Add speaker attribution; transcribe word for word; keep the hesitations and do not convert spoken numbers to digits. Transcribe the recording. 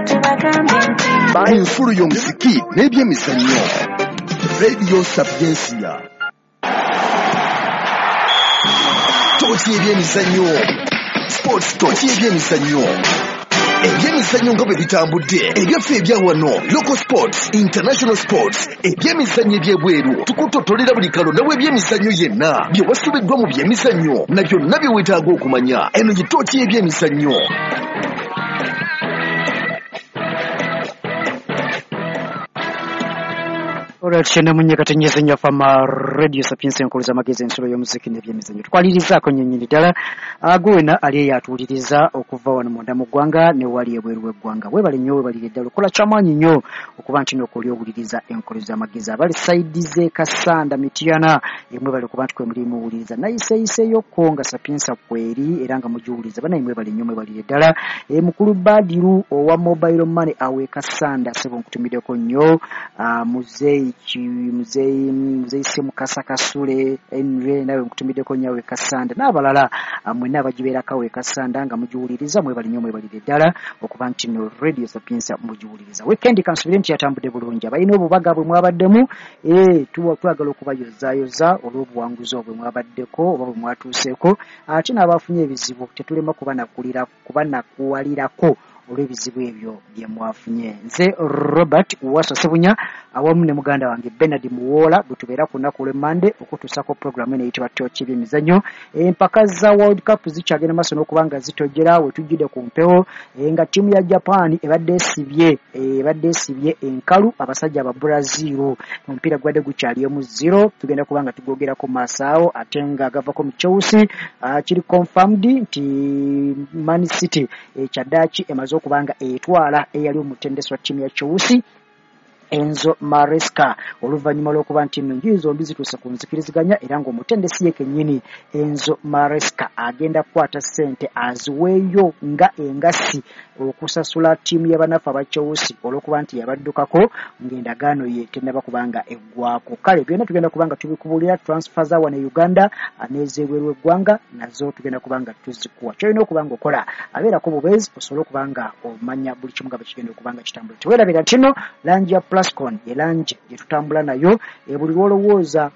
Speaker 1: Tubagambe nti
Speaker 2: Ensulo y'omuziki n'ebyemizannyo, Radio Sapiensia. Tooki y'ebyemizannyo, Sports Tooki y'ebyemizannyo. Ebyemizannyo nga bwe bitambudde, ebyaffe ebya wano, local sports, international sports, ebyemizannyo ebyebweru, tukutotolera buli kalonda w'ebyemizannyo yenna, bye wasubiddwa mu byemizannyo na byonna bye weetaaga okumanya. Eno ye tooki y'ebyemizannyo.
Speaker 3: Olwati kyenda mu nnya katonnyeze nnyo Fama Radio Sapiensia, enkulu z'amagezi, ensulo y'omuziki n'ebyemizannyo. Tukwalirizaako nnyo nnyini ddala agwe wena ali eyo atuwuliriza okuva wano munda mu ggwanga ne wali ebweru w'eggwanga. Weebale nnyo, weebalire ddala, okola kyamaanyi nnyo okuba nti n'okwoli owuliriza enkulu z'amagezi. Abali sayidi z'e Kassanda, Mityana, mwebale okuba nti kwe muli muwuliriza. Nayiseeyiseyokko nga Sapiensia kweri era nga mugiwuliriza. Bannaye mwebale nnyo, mwebalire ddala. E, mukulu Badiru owa Mobile Money awo e Kassanda, ssebo nkutumiddeko nnyo. Muzeeyi muzeeyi muzeeyi Ssemukasa Kasule Henry, nawe nkutumiddeko nnyo awo e Kassanda n'abalala mwenna abagibeerako awo e Kassanda nga mugiwuliriza. Mwebale nnyo, mwebalire ddala okuba nti no Radio Sapiensia mugiwuliriza. Weekend kansubire nti yatambudde bulungi. Abalina obubaga bwe mwabaddemu, eh, twagala okubayozaayoza olw'obuwanguzi obwe mwabaddeko oba bwe mwatuuseeko, ate n'abafunye ebizibu tetulema kubanakulira kubanakuwalirako olw'ebizibu ebyo bye mwafunye. Nze Robert Wasswa Ssebunya awamu ne muganda wange Bernard Muwoola bwe tubeera ku lunaku lw'Emmande okutuusako pulogulaamu eno eyitibwa Tooki y'ebyemizannyo. Empaka za World Cup zikyagenda maaso n'okuba nga zitojjera we tujjidde ku mpewo, nga ttiimu ya Japan ebadde esibye ebadde esibye enkalu abasajja aba Brazil. Omupiira gubadde gukyali emu zero, tugenda kuba nga tugwogerako mu maaso awo, ate nga gavako mu Chelsea. Kiri confirmed nti Man City kyaddaaki emaze okuba nga etwala eyali omutendesi wa ttiimu ya Chelsea Enzo Maresca, oluvannyuma lw'okuba nti nno enjuyi zombi zituuse ku nzikiriziganya era ng'omutendesi ye kennyini Enzo Maresca agenda kukwata ssente aziweeyo nga engassi okusasula ttiimu y'abanafu aba Chelsea olw'okuba nti yabaddukako ng'endagaano ye tennaba kubanga eggwako. Kale byonna tugenda kuba nga tubikubuulira. Transfer za wano e Uganda n'ez'ebweru w'eggwanga nazo tugenda kuba nga tuzikuwa. Ky'olina okuba nga okola abeerako bubeezi osobole okuba nga omanya buli kimu nga bwe kigenda okuba nga kitambula. Teweerabira nti nno langi ya Plascon ye langi gye tutambula nayo, buli lw'olowooza